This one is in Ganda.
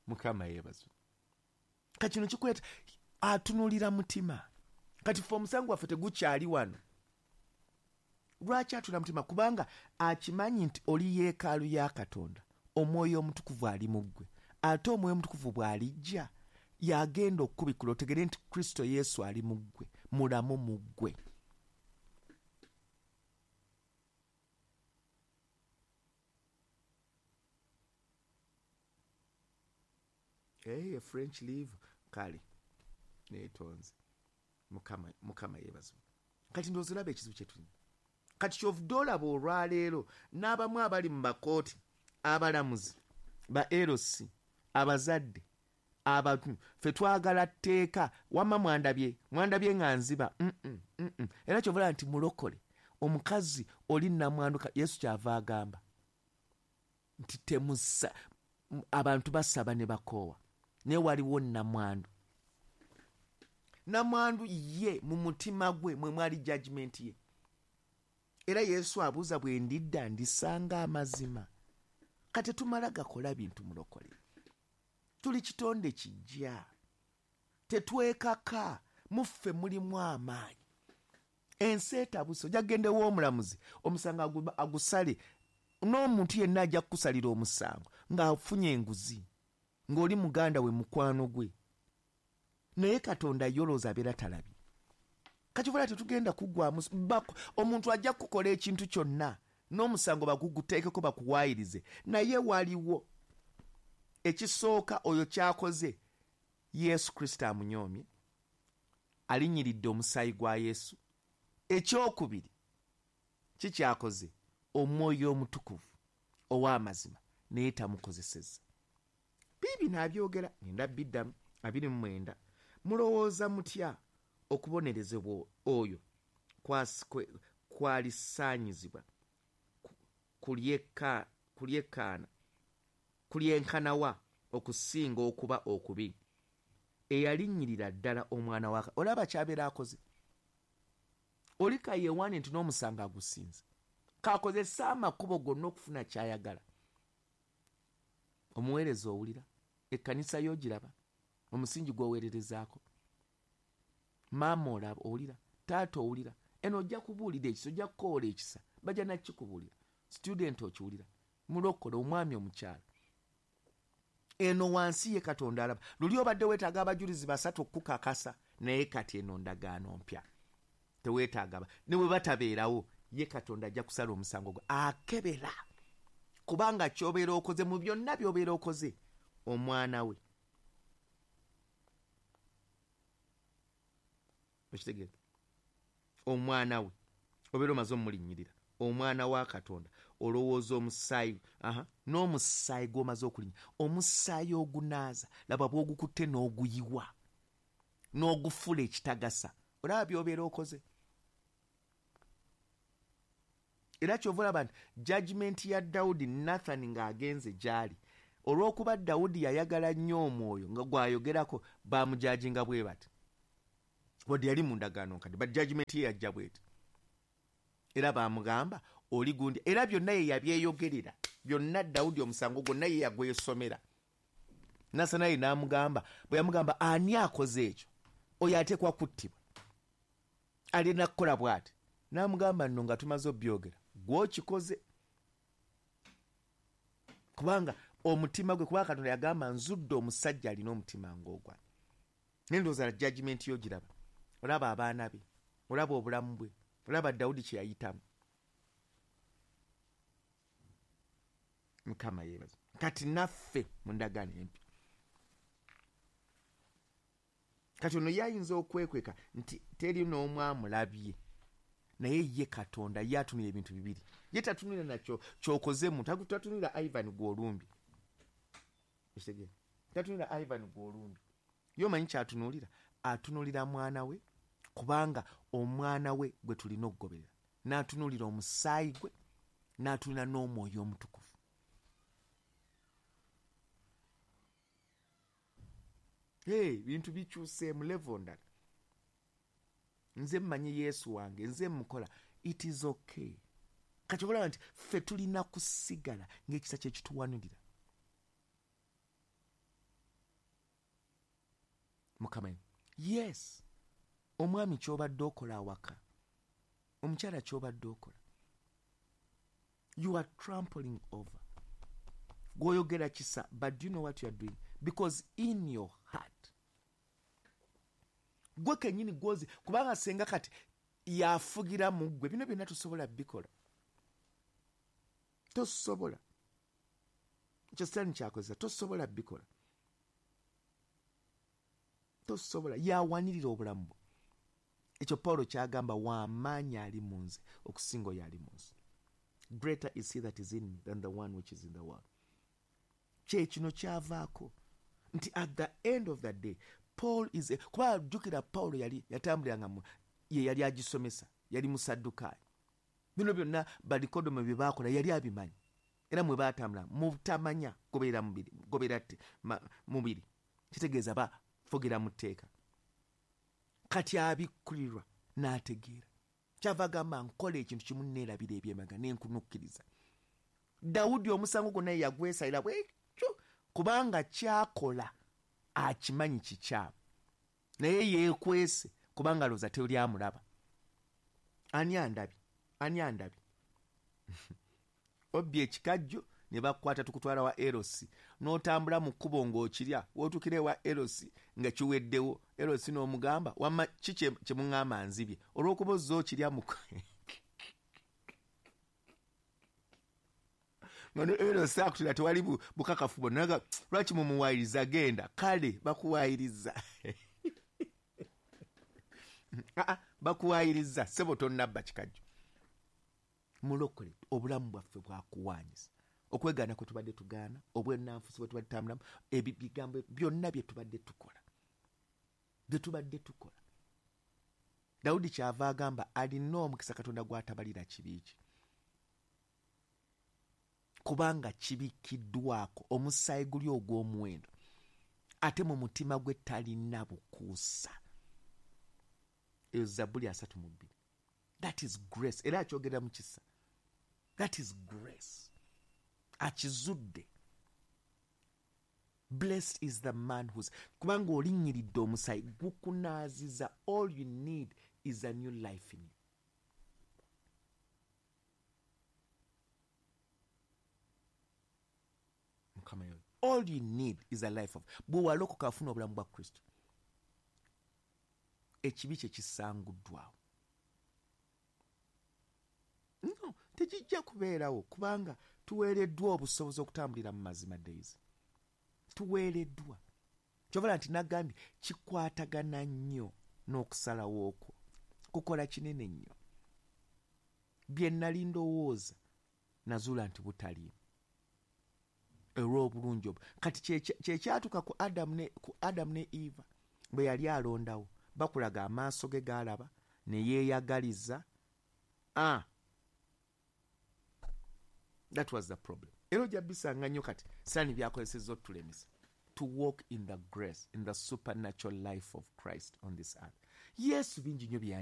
Mukama yeebazibwe. Kati kino kikuleeta atunulira mutima. Kati ffe omusango gwaffe tegukyali wano. Lwaki atunula mutima? Kubanga akimanyi nti oli yeekaalu ya Katonda, Omwoyo Omutukuvu ali mu ggwe. Ate Omwoyo Omutukuvu bw'alijja, y'agenda okukubikkula otegere nti Kristo Yesu ali mu ggwe, mulamu mu ggwe. Hey, French leave kale netonze. Mukama, Mukama yeebazibwe. Kati ndowooza olaba ekizibu kye tulina. Kati kyovudde olaba olwaleero n'abamu abali mu makooti, abalamuzi, ba LC, abazadde, abantu, ffe twagala tteeka. Wamma mwandabye, mwandabye nga nziba. Mm-mm, mm-mm. Era kyova olaba nti mulokole, omukazi oli nnamwandu, Yesu kyava agamba nti temusa, abantu basaba ne bakoowa, naye waliwo nnamwandu. Nnamwandu ye mu mutima gwe mwe mwali judgment ye. Era Yesu abuuza, bwe ndidda ndisanga amazima? Kati tumala gakola bintu mulokole. Tuli kitonde kijja, tetwekaka, muffe mulimu amaanyi. Ensi etabuse, ojja kugenda ew'omulamuzi, omusango agusale, n'omuntu yenna ajja kukusalira omusango ng'afunye enguzi, ng'oli muganda we, mukwano gwe. Naye Katonda ye olowooza abeera talabye. Kati oba tetugenda kuggwamu, omuntu ajja kukukola ekintu kyonna n'omusango baguguteekeko bakuwaayirize, naye waliwo ekisooka oyo ky'akoze. Yesu Kristo amunyoomye, alinnyiridde omusaayi gwa Yesu. Ekyokubiri kikyakoze, Omwoyo Omutukuvu ow'amazima naye tamukozesezza. Biibino abyogera, ngenda biddamu. 29, mulowooza mutya okubonerezebwa oyo kwalisaanyizibwa kulyenkanawa okusinga okuba okubi eyalinnyirira ddala omwana wa Olaba ky'abeera akoze. Oli kayeewaane nti n'omusango agusinze, kakozesa amakubo gonna okufuna ky'ayagala. Omuweereza owulira, ekkanisa y'ogiraba, omusingi gw'oweererezaako. Maama olaba, owulira, taata owulira, eno ojja kubuulira ekisa, ojja kukoola ekisa, bajja nakikubuulira. Student okiwulira, mulokole, omwami, omukyala. Eno wansi ye Katonda alaba. Luli obadde weetaaga abajulizi basatu okukukakasa, naye kati eno ndagaano mpya. Teweetaaga ne bwe batabeerawo, ye Katonda ajja kusala omusango gwe. Akebera kubanga ky'obeera okoze mu byonna by'obeera okoze, omwana we. Okitegeera? Omwana we obeera omaze omulinnyirira, omwana wa Katonda. Olowooza omusaayi, aha, n'omusaayi gw'omaze okulinnya, omusaayi ogunaaza, laba bw'ogukutte n'oguyiwa n'ogufula ekitagasa. Olaba by'obeera okoze. Era ky'ova olaba nti judgment ya Dawudi, Nathan ng'agenze gy'ali, olw'okuba Dawudi yayagala nnyo omwoyo nga gw'ayogerako, baamujajinga bwe bati. Wadde yali mu ndagaano nkadde, but judgment ye yajja bw'eti. Era baamugamba oli gundi, era byonna ye yabyeyogerera byonna. Dawudi omusango gwonna ye yagwesomera. Nasanayi n'amugamba, bwe yamugamba ani akoze ekyo, oyo ateekwa kuttibwa, alina kukola bw'ati. N'amugamba nno nga tumaze obyogera, gw'okikoze, kubanga omutima gwe, kubanga Katonda yagamba nzudde omusajja alina omutima ng'ogwange. Naye ndowooza judgment yo giraba, olaba abaana be, olaba obulamu bwe, olaba Dawudi kye yayitamu. Mukama yeebaza. Kati naffe mu ndagaano empya, kati ono ye ayinza okwekweka nti teri n'omu amulabye, naye ye Katonda ye atunula ebintu bibiri. Ye tatunulira nakyo ky'okoze muntu, tatunulira Ivan gw'olumbye. Ekitegeera, tatunulira Ivan gw'olumbye. Ye omanyi ky'atunuulira? Atunuulira mwana we, kubanga omwana we gwe tulina okugoberera. N'atunuulira omusaayi gwe, n'atunuulira n'Omwoyo Omutukuvu. Hey, bintu bikyuseemu level ndala. Nze mmanyi Yesu wange, nze mukola, it is okay. Kati olaba nti ffe tulina kusigala ng'ekisa kye kituwanirira. Mukama, yes, omwami ky'obadde okola awaka, omukyala ky'obadde okola, you are trampling over. Gw'oyogera kisa, but do you know what you are doing? Because in your heart, gwe kennyini gwozi, kubanga senga kati yafugira mu ggwe, bino byonna tosobola bikola. Tosobola. Ekyo Sitaani kyakozesa, tosobola bikola. Tosobola. Yawanirira obulamu bwo. Ekyo Pawulo kyagamba, w'amaanyi ali mu nze okusinga oyo ali mu nsi. Greater is he that is in me than the one which is in the world. Kye kino kyavaako nti at the end of the day, Paul is a, kuba jjukira Pawulo yali yatambuliranga ye yali agisomesa, yali Musaddukaayo. Bino byonna Banikodemo bye baakola yali abimanyi, era mwe baatambula mutamanya gobeera mubiri, gobeera mubiri, kitegeeza bafugira mu tteeka. Kati abikkulirwa n'ategeera. Kyava agamba nkola ekintu kimu neerabira eby'emabega ne nkunukkiriza. Dawudi omusango gwonna ye yagwesalira bwekyo, kubanga kyakola akimanyi kikyamu, naye yeekwese kubanga alowooza tewali amulaba. Ani andabye? Ani andabye? Obbye ekikajjo ne bakukwata tukutwala wa Erosi, n'otambula mu kkubo ng'okirya, w'otuukira ewa Erosi nga kiweddewo, Erosi n'omugamba wamma ki kye muŋŋamba nzibye, olw'okuba ozze okirya mu nga ne Erosi akutira tewali bukakafu bwonna, lwaki mumuwaayiriza genda, kale bakuwaayiriza. Bakuwaayiriza ssebo tonnabba kikajjo. Mulokole obulamu bwaffe bwakuwaanyisa, okwegaana kwe tubadde tugaana, obwennanfusi bwe tubadde tutambulamu, ebigambo byonna bye tubadde tukola, bye tubadde tukola. Dawudi kyava agamba alina omukisa Katonda gw'atabalira kibi kye, kubanga kibikiddwako omusaayi guli ogw'omuwendo, ate mu mutima gwe talina bukuusa. Eyo Zabbuli 32. That is grace. Era akyogera mu kisa. That is grace. Akizudde. Blessed is the man who's, kubanga olinnyiridde omusaayi gukunaaziza. All you need is a new life in you. Mukama yoyo. All you need is a life of, bwe walokoka afuna obulamu bwa Kristo, ekibi kye kisanguddwawo. No, tekijja kubeerawo kubanga tuweereddwa obusobozi okutambulira mu mazima days. Tuweereddwa. Kyovala nti nagambye kikwatagana nnyo n'okusalawo okwo. Kukola kinene nnyo. Bye nali ndowooza nazuula nti butaliimu olw'obulungi obwo. Kati kye kyatuuka ku Adamu ne Eva bwe yali alondawo, bakulaga amaaso ge gaalaba ne yeeyagaliza. That was the problem. Era ojja bisanga nnyo kati Sitaani by'akozesezza otulemesa to walk in the grace, in the supernatural life of Christ on this earth. Yesu bingi nnyo bye